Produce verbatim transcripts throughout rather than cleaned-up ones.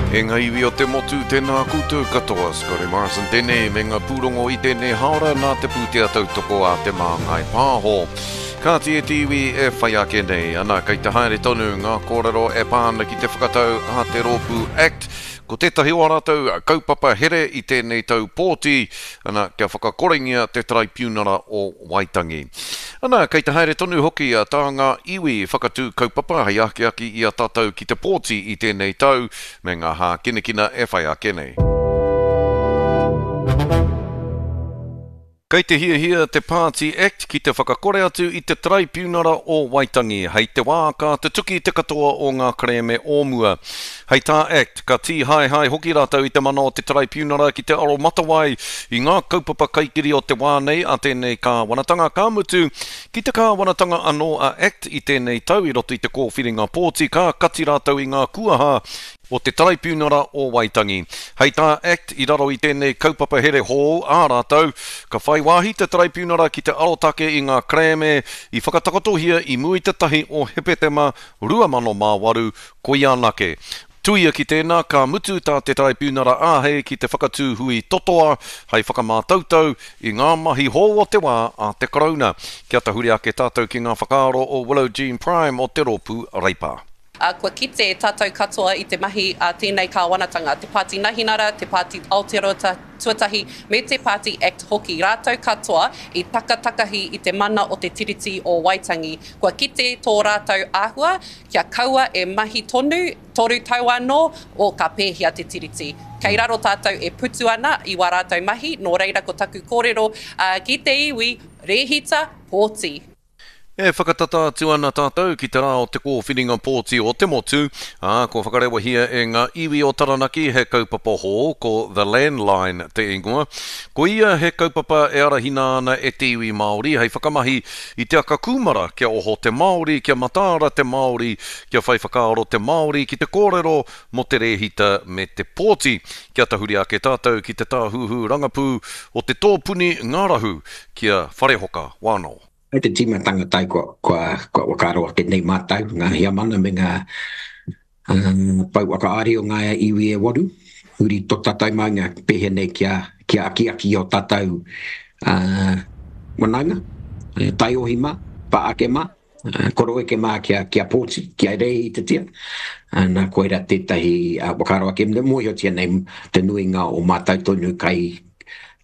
E ngā iwi o te motu, tēnā koutou katoa, Scotty Morrison tēnei me ngā pūrongo i tēnei haora nā te pūtea tautoko a Te Māngai Pāho. Kāti e te iwi e whai ake nei, ana kei te haere tonu ngā kōrero e pā ana ki te whakatau a te rōpū ACT, ko tētahi o ā rātou kaupapa here i tēnei tau pōti, ana kia whakakorengia te Taraipiunara o Waitangi. Ana, kei te haere tonu hoki a tā ngā iwi whakatū kaupapa hei akiaki i a tātou ki te pōti i tēnei tau me ngā hākinakina e whai ake nei. Kei te hiahia te Pāti ACT ki te whakakore atu i te Taraipiunara o Waitangi hei te wā ka tutuki te katoa o ngā kerēme o mua. Hei tā ACT, ka tīhaehae hoki rātou i te mana o te Taraipiunara ki te aromatawai i ngā kaupapa kaikiri o te wā nei a tēnei kāwanatanga, ka mutu ki te kāwanatanga anō a ACT i tēnei tau i roto i te kōwhiringa pōti ka kati rātou i ngā kuaha o te Taraipiunara o Waitangi. Hei tā ACT i raro i tēnei kaupapa here hou ā rātou, ka whai wāhi te Taraipiunara ki te arotake i ngā kerēme i whakatakotohia i mua i te tahi o Hepetema rua mano mā waru, koia anake. Tuia ki tēnā, ka mutu tā te Taraipiunara āhei ki te whakatū hui totoa hei whakamātautau i ngā mahi hou o te wā a te Karauna. Kia tahuri ake tātou ki ngā whakaaro o Willow Jean Prime o te rōpū Reipa. Ā, kua kite tātou katoa i te mahi a tēnei kāwanatanga, te Pāti Nahinara, te Pāti Aotearoa Tuatahi me te Pāti Act hoki, rātou katoa i takatakahi i te mana o te Tiriti o Waitangi. Kua kite tō rātou āhua kia kaua e mahi tonu, toru tau anō, o ka pēhea te Tiriti. Kei raro tātou e putu ana i wā rātou mahi, nō reira ko taku kōrero ki te iwi, rēhita, pōti. E whakatata atu ana tātou ki te rā o te kōwhiringa pōti o te motu, ā, kua whakarewahia e ngā iwi o Taranaki he kaupapa hou, ko The Landline te ingoa. Ko ia he kaupapa e arahina ana e te iwi Māori hei whakamahi i te aka kūmara kia oho te Māori, kia mataara te Māori, kia whai whakaaro te Māori ki te kōrero mō te rēhita me te pōti. Kia tahuri ake tātou ki te tāhuhu rangapū o te tōpuni ngārahu ki a Wharehoka Wano. Hei te tīmatanga tai kua, kua, kua whakaaro ake nei mātou, ngā heamana me ngā uh, pou whakaari o ngā iwi e waru, huri tō tātou maunga pēhea nei kia, kia akiaki o tātou uh, wanaunga, taiohi mā, pāake mā, uh, koroeke mā kia, kia pōti, kia rēhitatia. Uh, nā koira tētahi uh, whakaaro ake, mōhiotia nei te nuinga o mātou tonu kai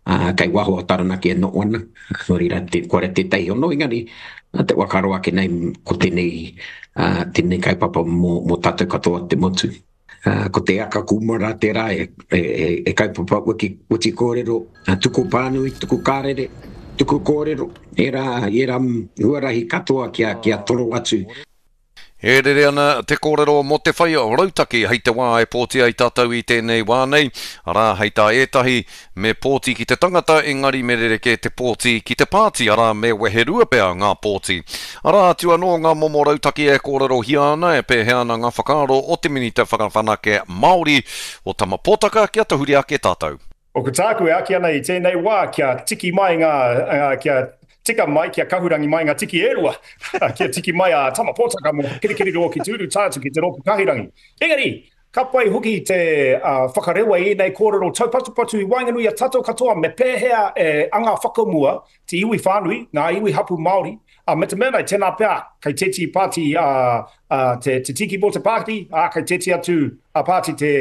Uh, kei waho o Taranaki e noho ana, nō reira, te, koira tētahi ono, engari, te whakaaro ake nei ko tēnei, uh, tēnei kaupapa mō, mō tātou katoa te motu. Uh, ko te aka kūmara tērā e, e, e, e kaupapa wiki, witi kōrero, uh, tuku pānui, tuku kārere, tuku kōrero, ērā, ērā huarahi katoa kia, kia toro atu. E rere ana te kōrero mō te whai rautaki hei te wā e pōti ai tātou i tēnei wā nei, arā hei tā ētahi me pōti ki te tangata engari me rerekē te pōti ki te pāti, arā me weherua pea ngā pōti. Arā atu anō ngā momo rautaki e kōrerohia ana e pēhea ana ngā whakaaro o te Minita Whakawhanake Māori o Tama Potaka kia tahuri ake tātou. O ko tāku e aki ana i tēnei wā kia tiki mai ngā, kia tika mai, kia kahurangi mai ngā tiki e rua, kia tiki mai a Tama Potaka mō Kirikiriroa ki Tūru tātu ki te rōpū kahurangi. Engari, ka pai hoki te uh, whakarewa i ēnei kōrero taupatupatu i waenganui a tātou katoa me pēhea e anga whakamua te iwi whānui, ngā iwi hapu Māori, uh, me te mea nei, tēnā pea, kei tēti pāti uh, uh, te, te tiki mō te pāti, uh, kei tēti atu a pāti te,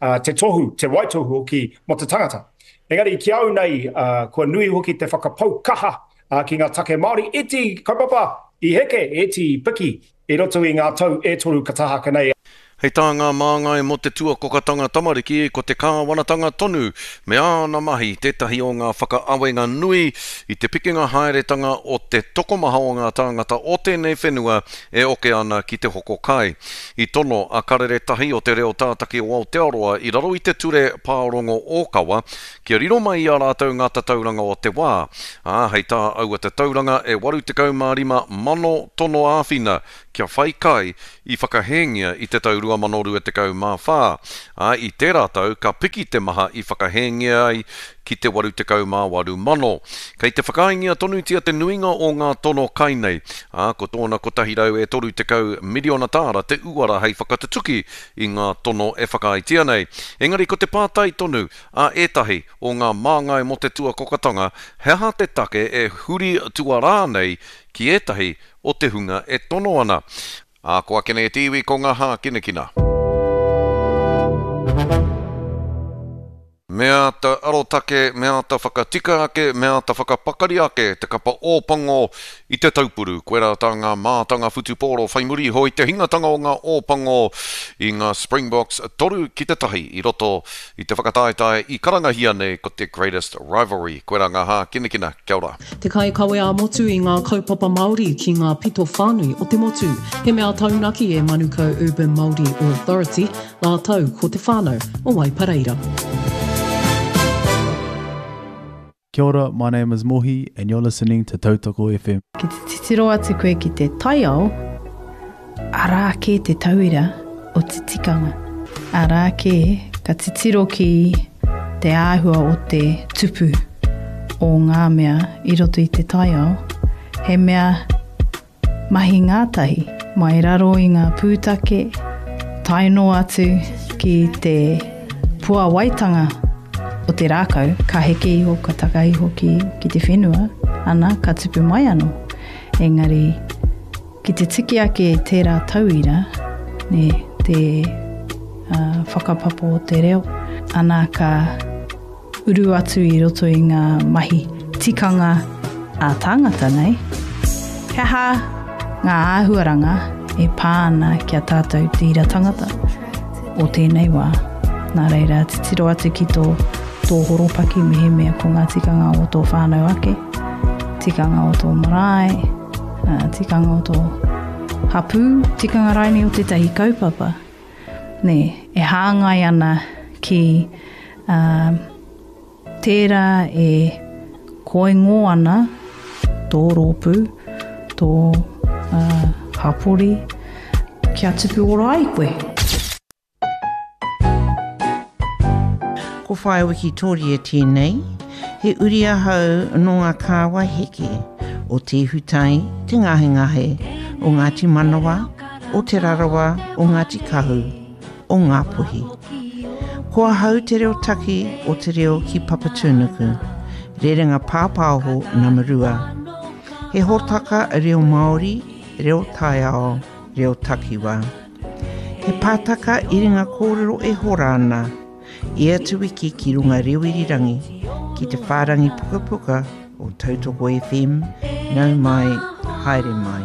uh, te tohu, te waitohu hoki mō te tangata. Engari, ki au nei, uh, kua nui hoki te whakapau kaha uh, ki ngā take Māori, iti kaupapa i heke, iti piki i roto i ngā tau e toru ka tahaka nei. Hei tā ngā māngai mō te tuakokatanga tamariki, ko te kāwanatanga tonu me āna mahi tētahi o ngā whakaawenga nui i te pikinga haeretanga o te tokomaha o ngā tāngata o tēnei whenua e oke ana ki te hoko kai. I tono a Karere Tahi o te reo tātaki o Aotearoa i raro i te ture pārongo ōkawa kia riro mai i a rātou ngā tatauranga o te wā. Ā, hei tā aua tatauranga e waru tekau mā rima mano tono āwhina kia whai kai i whakahēngia i te tau rua mano rua tekau mā whā. Ā, i tērā tau ka piki te maha i whakahēngia ai ki te waru tekau mā waru mano. Kei te whakaaengia tonutia te nuinga o ngā tono kai nei, ā, ko tōna kotahi rau e toru tekau miriona tāra te uara hei whakatutuki i ngā tono e whakaaetia nei. Engari ko te pātai tonu a ētahi o ngā māngai mō te tuakokatanga, he aha te take e huri tuarā nei ki ētahi o te hunga e tono ana? Ā, ko ake nei te iwi ko ngā hākinakina. Me āta arotake, me āta whakatika ake, me āta whakapakari ake te kapa Ōpango i te taupuru. Koirā tā ngā mātanga whutupōro whai muri iho i te hingatanga o ngā Ōpango i ngā Springboks toru ki te tahi i roto i te whakataetae i karangahia nei ko te Greatest Rivalry. Koirā ngā hākinakina. Kia ora. Te kaikawe ā-motu i ngā kaupapa Māori ki ngā pito whānui o te motu. He mea taunaki e Manukau Urban Māori Authority, rātou ko te whānau o Waipareira. Kia ora, my name is Mohi and you're listening to Tautoko F M. Ki te titiro atu koe ki te taiao, arā kē te tauira o te tikanga. Arā kē ka titiro ki te āhua o te tupu o ngā mea i roto i te taiao, he mea mahi ngātahi, mai raro i ngā pūtake, tae noa atu ki te puawaitanga o te rākau, ka heke iho, ka taka iho ki, ki te whenua, ana, ka tupu mai anō. Engari, ki te tiki ake tērā tauira, ne, te uh, whakapapa o te reo, ana ka uru atu i roto i ngā mahi tikanga a tāngata nei. He aha ngā āhuaranga e pā ana ki a tātou te ira tangata o tēnei wā. Nā reira, titiro atu ki tō, tō horopaki mehemea ko ngā tikanga o tō whānau ake, tikanga o tō marae, tikanga o tō hapū, tikanga raini o tētahi kaupapa. Nē, e hāngai ana ki uh, tērā e koingo ana tō rōpū, tō uh, hapori, kia tupu ora ai koe. Ko Whaea Wikitoria tēnei, he uri ahau nō ngā kāwai heke o Te Ihutai, Te Ngahengahe, o Ngāti Manawa, o Te Rarawa, o Ngāti Kahu, o Ngāpuhi. Ko ahau te reo taki o te reo ki Papatūnuku, rerenga pāpāho nama rua. He hōtaka reo Māori, reo taiao, reo takiwā. He pātaka iringa kōrero e hora ana, ia te wiki ki runga reo irirangi, ki te whārangi pukapuka o Tautoko F M, nau mai, haere mai.